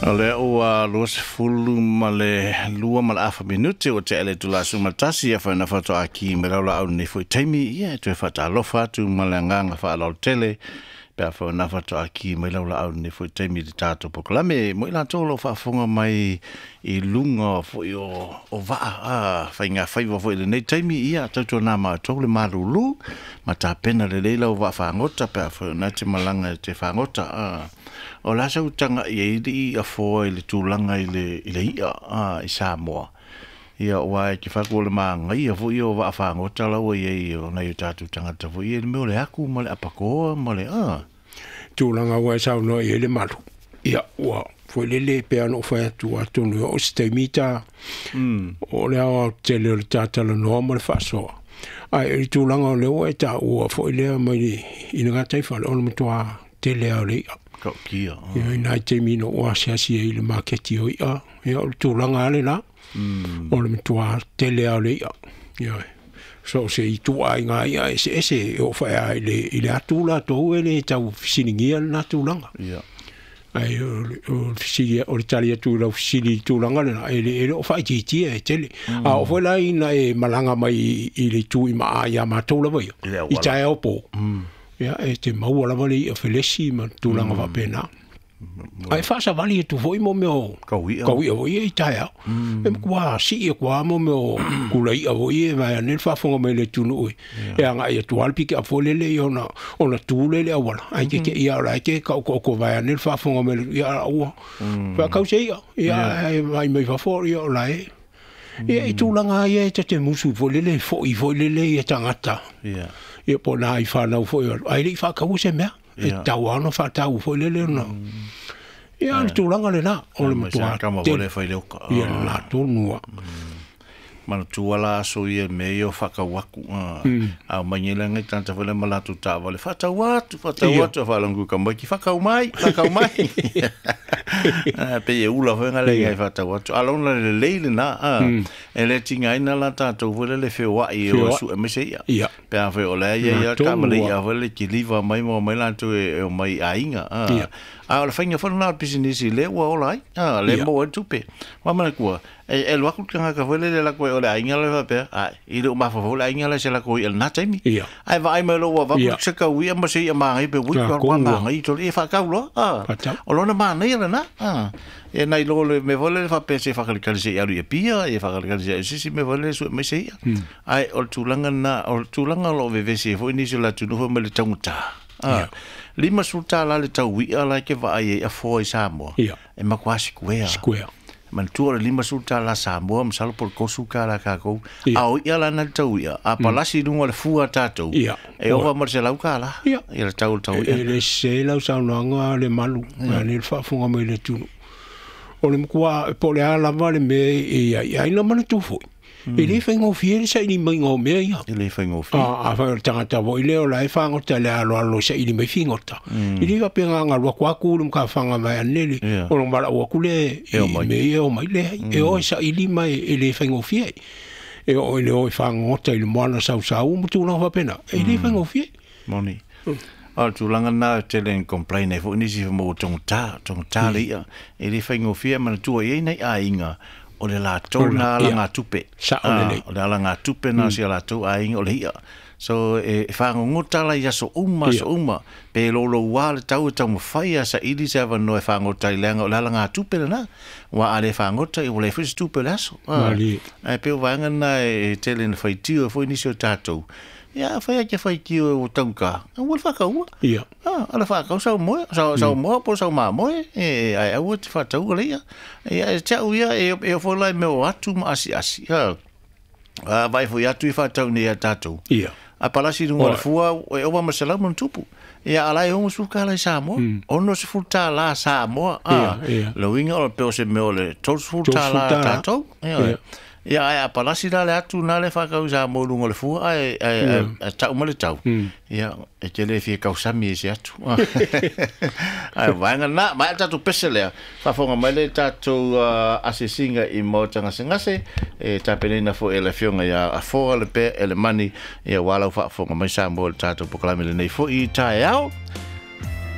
O lea ua 22:30 minute ua tea le itula 11 ia whaina whatoa ki me lau laau nei foi taimi ia e toe whaatalofa atu ma le agaga faaaloalo tele pe a whaina whatoa ki me lau laau nei foi taimi le tātou polokalame mo i latou lo faafofoga mai i luga foi o vaa a whainga whaiwa foi le nei taimi ia tautua nā mātou le malulu ma tāpena le leila o vaa whaangota pe a whaina te malanga te whaangota a o la sau tanga i i a foa i le tūlanga i le ia i Samoa. Ia o ai ke whaku o le maangai a fo ia o vaa whaangota laua i ei o nei o tātou tangata fo ia le mea o le aku ma le apakoa ma le a. Tūlanga ua e saunoa i le malu. Ia ua foi lele pe ana o whai atu atonu o se taimita o le awa tele o le tātala noa ma le whaasoa. Ai e tūlanga o leo e tā ua foi lea mai i nga taiwhale o le matua tele au le ia. Ka kia. Ia i nai te mino o asiasi e i le maketi o ia. Ia o le tūlanga ale la. O le matua tele au le ia. Ia so se i tua ai ngā ia ese ese e o whaea i le atu la tō e le tau fisilingia le nā tūlanga. Ia. Ai o fisili o le tali atu lau fisili i tūlanga le na e le o whaititia e tele. A o whai lai na e malanga mai i le tū i maa ia mātou lava ia. I tae au pō. Ia e te maua lava le ia felesi ma tūlanga whapena. Ai whaasawali e tu foi mo meo kauia foi e i tae au. E mkua si e kua mo meo kula ia foi e vai ane whaafonga mai le tunu ui. E anga ia tualpi ki a fole le i ona tūle le awala. Ai ke ke ia ora ke ka oko vai ane whaafonga mai le ia ua. Whakau se ia. Ia e vai mai whafo ia ola e. Ia i tūlanga ia e te musu foi le foi foi le ia tangata. Ia. Ia po nā i whanau foi. Ai le i whakau se mea. E tau ana whatau foi lele ona. Ia le tūlanga le nā. O le matua kama te. Vole whai leoka. Ia nā tōnua. Mana tuala aso ia me ia whakawaku. A mangela ngai tanta whale malatu tā wale. Whatau atu, whatau atu. Whalangu ka mai ki whakau mai, whakau mai. Pe e ula whai ngale ngai whatau atu. Alona le leile nā. E le tinga ina la tātou whale le whioa i o su e mese ia. Ia. Pe a whai o lea ia ia kamale ia whale ki liva mai mo mai lātou e o mai ainga. A o le whainga whana nā pisinisi le ua ola ai. Le mo e tupe. Wamana kua. E luaku te ngaka whele le lako e o le ainga le whapea. Ai, i le umafa le ainga le se lako i el nā taimi. Ai vaai mai lo ua vaku se kau ia ma se ia maangai pe wiki wa maangai i tole e whakau loa. O lona maangai ala nā. E nai lo le me whele le whapea se whakalikali se i alu i pia, e whakalikali se i sisi me whele su me se ia. Ai, o le tūlanga nā, o le tūlanga lo vevesi e fo inisi o la tunufa me le tangata. Lima sulta la le tau wia la ke vaai e a foa i Samoa. E makuasi kuea. Square. Manatua le lima sulta la Samoa, masalo po le kosu ka la kākou. A o ia la na le tau ia. A palasi lunga le fua tātou. E ova ma le se lau ka la. Ia. Ia le tau le tau ia. E le se lau saunoanga le malu. Ia le whaafunga mai le tunu. O le mkua po le alava le mea e ia ina mana tūfoi. E le whaingofie le saili mai ngō mea ia. E le whaingofie. A whai o le tangata voi leo la e whangota le alo alo saili mai whingota. I le wapea ngā ngalua kua kūru mga whanga mai anele. O lo mara ua kule e me e o mai le. E o e saili mai e le whaingofie. E o e le o e whangota i le moana sausau mo tūlanga whapena. E le whaingofie. Moni. O le tūlanga nā tele en complain e fo nisi mo tongta le ia. E le whaingofie mana tua i nei ainga. O le lātou nā ala ngā tupe. O le ala ngā tupe nā si a lātou ainga o le ia. So e whangongota la ia so uma, so uma. Pe lolo wā le tau e tau mawhai a sa ili se awa no e whangota i leanga o le ala ngā tupe na. Wā a le whangota i o le whisi tupe le aso. Ai pe o waanga nā e tele na whaitio e fo nisi o tātou. Ia whai ake whaitio e o tauka. Ua le whakaua. Ia. Ala whakau sau moe, sau moa po sau maa moe. E ai aua te whataua le ia. Ia e tau ia e o wholai me o atu ma asi asi. Vai fo i atu i whatau ni a tātou. Ia. A palasi runga le fua e owa masalau mana tupu. Ia alai ongo suka alai Samoa. Ono se fulta la Samoa. Lo inga o le peo se meo le tolu fulta la tātou. Ia. Ia ai a palasi la le atu nā le whakau Samoa lunga le fua ai tau ma le tau. Ia e te le fia kausami e se atu. Ai vaenga nā, mai tātou pese lea. Whafonga mai le tātou asesinga i maota ngasengase. E tāpeneina fo e le fionga ia a foa le pe e le mani. Ia walau whaafonga mai Samoa le tātou pokalame le nei fo i tae ao.